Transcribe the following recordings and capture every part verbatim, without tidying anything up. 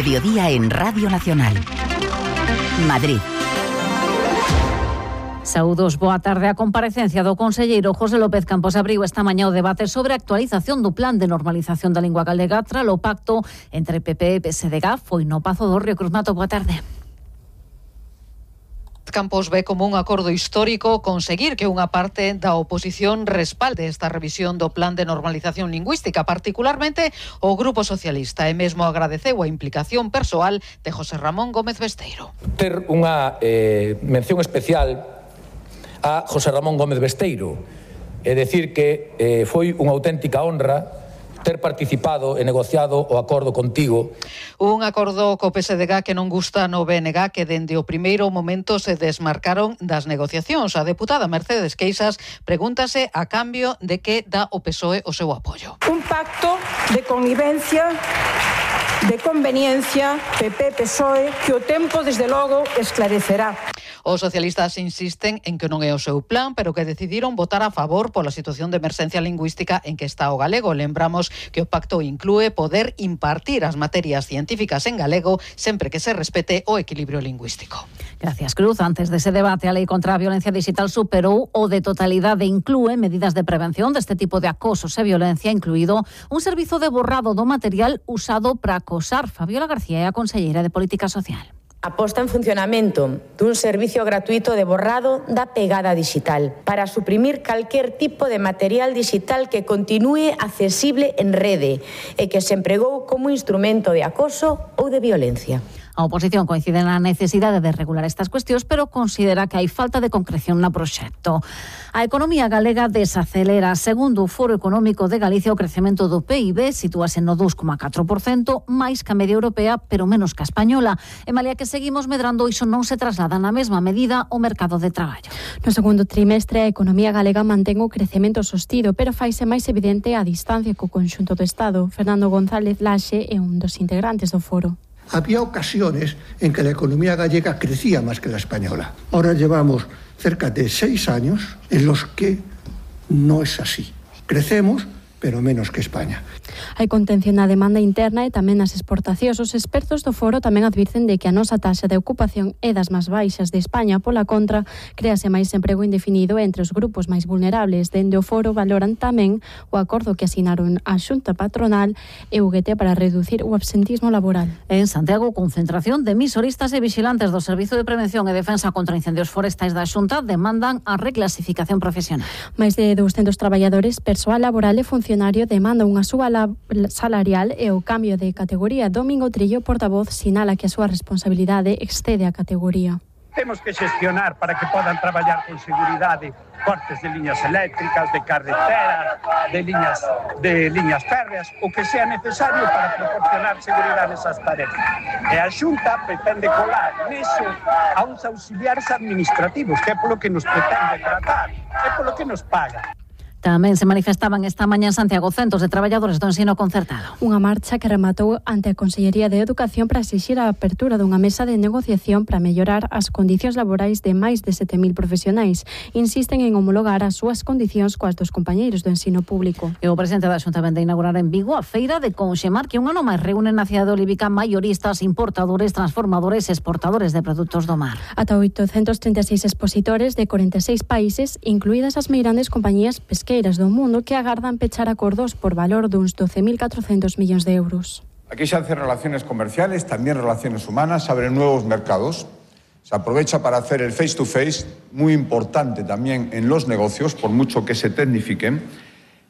Mediodía en Radio Nacional. Madrid. Saúdos, boa tarde. A comparecencia do conselleiro José López Campos abriu esta mañá o debate sobre a actualización do plan de normalización da lingua galega tras o pacto entre P P e P S D G foi no Pazo do Río Cruz. Mato, boa tarde. Campos ve como un acordo histórico conseguir que unha parte da oposición respalde esta revisión do plan de normalización lingüística, particularmente o Grupo Socialista, e mesmo agradeceu a implicación persoal de José Ramón Gómez Besteiro. Ter unha eh, mención especial a José Ramón Gómez Besteiro, é dicir que eh, foi unha auténtica honra ter participado e negociado o acordo contigo. Un acordo co P S D G que non gusta no B N G, que dende o primeiro momento se desmarcaron das negociacións. A deputada Mercedes Queixas pregúntase a cambio de que dá o P S O E o seu apoio. Un pacto de convivencia, de conveniencia, P P P S O E, que o tempo, desde logo, esclarecerá. Os socialistas insisten en que non é o seu plan, pero que decidiron votar a favor pola situación de emerxencia lingüística en que está o galego. Lembramos que o pacto inclúe poder impartir as materias científicas en galego sempre que se respete o equilibrio lingüístico. Gracias, Cruz. Antes dese debate, a Lei contra a Violencia Digital superou o de totalidade e inclúe medidas de prevención deste tipo de acosos e violencia, incluído un servizo de borrado do material usado para acosar. Fabiola García é a conselleira de Política Social. A posta en funcionamento dun servicio gratuito de borrado da pegada digital para suprimir calquer tipo de material digital que continúe accesible en rede e que se empregou como instrumento de acoso ou de violencia. A oposición coincide na necesidade de regular estas cuestións, pero considera que hai falta de concreción no proxecto. A economía galega desacelera. Segundo o Foro Económico de Galicia, o crecemento do P I B sitúase no dous coma catro por cento, máis que a media europea, pero menos que a española. E malia que seguimos medrando, iso non se traslada na mesma medida ao mercado de traballo. No segundo trimestre, a economía galega mantén o crecemento sostido, pero faise máis evidente a distancia co conxunto do Estado. Fernando González Laxe é un dos integrantes do foro. Había ocasiones en que la economía gallega crecía más que la española. Ahora llevamos cerca de seis años en los que no es así. Crecemos, pero menos que España. Hai contención na demanda interna e tamén nas exportacións. Os expertos do foro tamén advirten de que a nosa taxa de ocupación é das máis baixas de España. Pola contra, créase máis emprego indefinido entre os grupos máis vulnerables. Dende o foro valoran tamén o acordo que asinaron a Xunta Patronal e U G T para reducir o absentismo laboral. En Santiago, concentración de emisoristas e vigilantes do Servizo de Prevención e Defensa contra Incendios Forestais da Xunta demandan a reclasificación profesional. Máis de douscentos traballadores, persoal laboral e funcionario demanda unha suba salarial e o cambio de categoría. Domingo Trillo, portavoz, sinala que a súa responsabilidade excede a categoría. Temos que xestionar para que podan traballar con seguridade cortes de liñas eléctricas, de carreteras, de liñas de liñas férreas, o que sea necesario para proporcionar seguridade esas tarefas. E a Xunta pretende colar neso a uns auxiliares administrativos, que é polo que nos pretende tratar, é polo que nos paga. Tamén se manifestaban esta mañá en Santiago centos de traballadores do ensino concertado. Unha marcha que rematou ante a Consellería de Educación para exixir a apertura dunha mesa de negociación para mellorar as condicións laborais de máis de sete mil profesionais. Insisten en homologar as súas condicións coas dos compañeiros do ensino público. E o presidente da Xunta vende inaugurar en Vigo a feira de Conxemar, que un ano máis reúne na cidade de Olivica maioristas, importadores, transformadores e exportadores de produtos do mar. Ata oitocentos trinta e seis expositores de corenta e seis países, incluídas as meirandes compañías pesqueiras do mundo, que agardan pechar acordos por valor duns doce mil catrocentos millóns de euros. Aquí se hacen relaciones comerciales, también relaciones humanas, se abren nuevos mercados, se aprovecha para hacer el face to face, muy importante también en los negocios, por mucho que se tecnifiquen,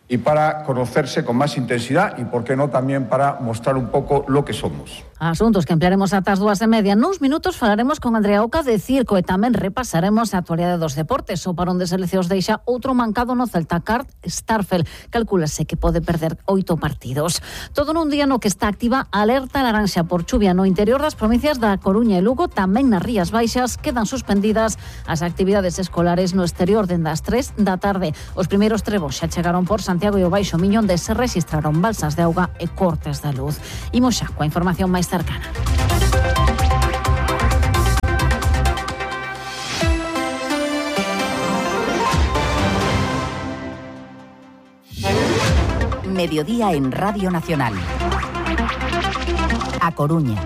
y para conocerse con más intensidad y, por qué no, también para mostrar un poco lo que somos. Asuntos que ampliaremos ata as dúas e media. Nuns minutos falaremos con Andrea Oca de circo e tamén repasaremos a actualidade dos deportes. O parón de seleccións deixa outro mancado no Celta. Cart Starfel calcúlase que pode perder oito partidos. Todo nun día no que está activa alerta laranxa por chuvia no interior das provincias da Coruña e Lugo. Tamén nas Rías Baixas quedan suspendidas as actividades escolares no exterior dende as tres da tarde. Os primeiros trebos xa chegaron por Santiago e o Baixo Miño, onde se registraron balsas de auga e cortes da luz. Imos xa coa información máis cercana. Mediodía en Radio Nacional. A Coruña.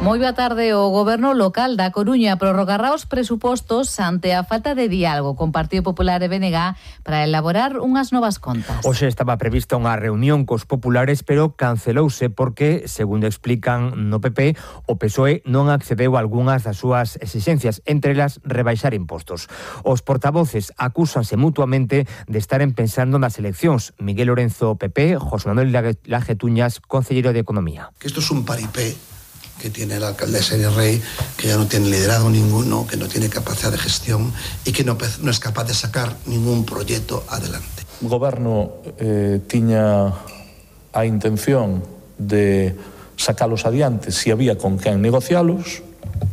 Moi boa tarde. O Goberno local da Coruña prorrogará os presupostos ante a falta de diálogo con Partido Popular e B N G para elaborar unhas novas contas. Hoxe estaba prevista unha reunión cos populares, pero cancelouse porque, segundo explican no P P, o P S O E non accedeu a algunhas das súas exixencias, entre elas rebaixar impostos. Os portavoces acúsanse mutuamente de estaren pensando nas eleccións. Miguel Lorenzo, P P, José Manuel Lajetuñas, concelleiro de Economía. Que esto es un paripé que tiene la alcaldesa de Rey, que ya no tiene liderazgo ninguno, que no tiene capacidad de gestión y que no, no es capaz de sacar ningún proyecto adelante. O goberno eh, tiña a intención de sacalos adiante se había con quen negocialos.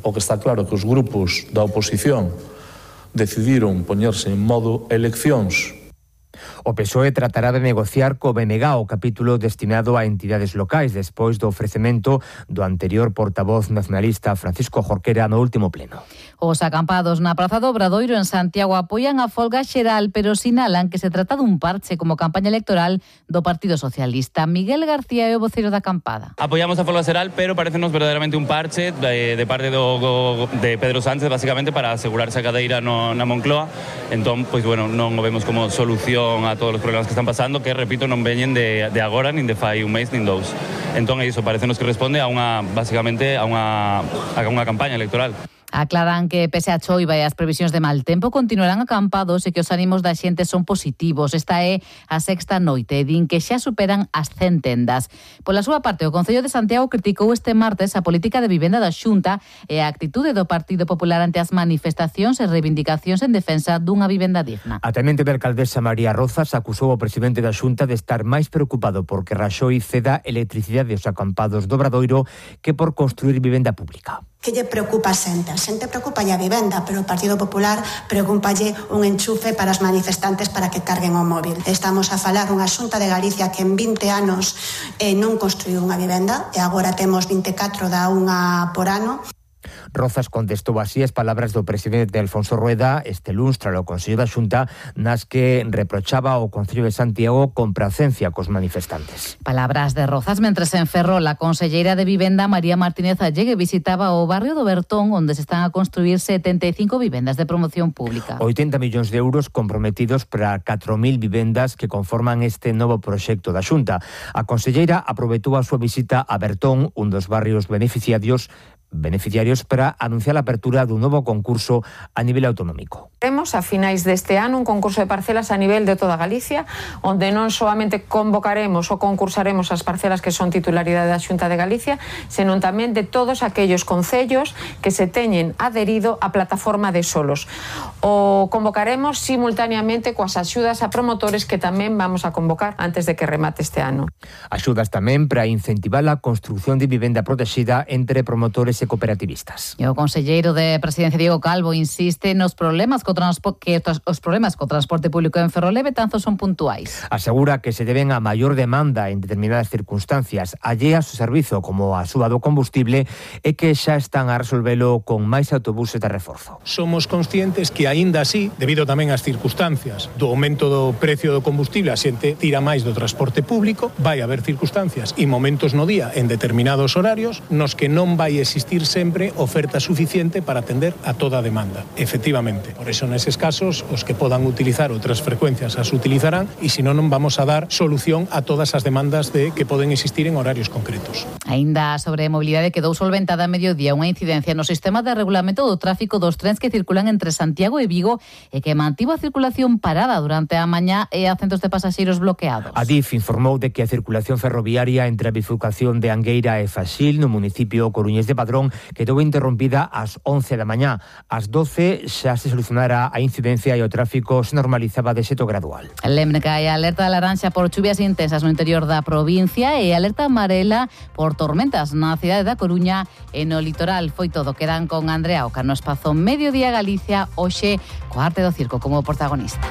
O que está claro que os grupos da oposición decidiron poñerse en modo eleccións. O P S O E tratará de negociar co B N G o capítulo destinado a entidades locais despois do ofrecemento do anterior portavoz nacionalista Francisco Jorquera no último pleno. Os acampados na Praza do Obradoiro en Santiago apoian a folga xeral, pero sinalan que se trata dun parche como campaña electoral do Partido Socialista. Miguel García é o voceiro da acampada. Apoiamos a folga xeral, pero parecenos verdadeiramente un parche de, de parte do, de Pedro Sánchez, basicamente para asegurarse a cadeira no, na Moncloa. Entón, pois bueno, non o vemos como solución a todos os problemas que están pasando, que, repito, non veñen de, de agora, nin de fai un mes, nin dous. Entón, é iso, parecenos que responde a unha, basicamente, a unha, a unha campaña electoral. Aclaran que, pese a choiva e as previsións de mal tempo, continuarán acampados e que os ánimos da xente son positivos. Esta é a sexta noite, din que xa superan as cen tendas. Pola súa parte, o Concello de Santiago criticou este martes a política de vivenda da Xunta e a actitude do Partido Popular ante as manifestacións e reivindicacións en defensa dunha vivenda digna. A tenente de alcaldesa María Rozas acusou o presidente da Xunta de estar máis preocupado porque Raxoi ceda electricidade aos acampados do Obradoiro que por construir vivenda pública. Que lle preocupa a xente? A xente preocupa a vivenda, pero o Partido Popular preocupalle un enchufe para os manifestantes para que carguen o móvil. Estamos a falar unha Xunta de Galicia que en vinte anos eh, non construiu unha vivenda e agora temos vinte e catro da unha por ano. Rozas contestou así as palabras do presidente Alfonso Rueda este luns tras o Consello da Xunta nas que reprochaba ao Concello de Santiago compracencia cos manifestantes. Palabras de Rozas mentres en Ferrol a conselleira de Vivenda María Martínez Allegue visitaba o barrio do Bertón onde se están a construir setenta e cinco vivendas de promoción pública. oitenta millóns de euros comprometidos para catro mil vivendas que conforman este novo proxecto da Xunta. A conselleira aproveitou a súa visita a Bertón, un dos barrios beneficiarios beneficiarios para anunciar a apertura dun novo concurso a nivel autonómico. Temos a finais deste ano un concurso de parcelas a nivel de toda Galicia, onde non solamente convocaremos ou concursaremos as parcelas que son titularidade da Xunta de Galicia, senón tamén de todos aquellos concellos que se teñen adherido á plataforma de solos. O convocaremos simultaneamente coas axudas a promotores que tamén vamos a convocar antes de que remate este ano. Axudas tamén para incentivar a construción de vivenda protexida entre promotores e cooperativistas. E o conselleiro de Presidencia Diego Calvo insiste nos problemas co transpo- que os problemas co transporte público en Ferrol e Betanzos son puntuais. Asegura que se deben a maior demanda en determinadas circunstancias alleas ao servizo como a suba do combustible e que xa están a resolvelo con máis autobuses de reforzo. Somos conscientes que aínda así, debido tamén ás circunstancias do aumento do precio do combustible, a xente tira máis do transporte público, vai haber circunstancias e momentos no día en determinados horarios nos que non vai existir sempre oferta suficiente para atender a toda a demanda. Efectivamente, por eso neses casos os que podan utilizar outras frecuencias as utilizarán e se non non vamos a dar solución a todas as demandas de que poden existir en horarios concretos. Aínda sobre mobilidade quedou solventada a mediodía unha incidencia no sistema de regulamento do tráfico dos trens que circulan entre Santiago e Vigo e que mantivo a circulación parada durante a mañá e a centos de pasaxeiros bloqueados. A D I F informou de que a circulación ferroviaria entre a bifurcación de Angueira e Faxil no municipio coruñés de Padrón quedou interrompida ás once da mañá. Ás doce xa se solucionara a incidencia e o tráfico se normalizaba de xeito gradual. Lemca e alerta laranxa por chuvias intensas no interior da provincia e alerta amarela por tormentas na cidade da Coruña e no litoral. Foi todo. Quedan con Andrea Oca no espazo Mediodía Galicia hoxe co Arte do Circo como protagonista.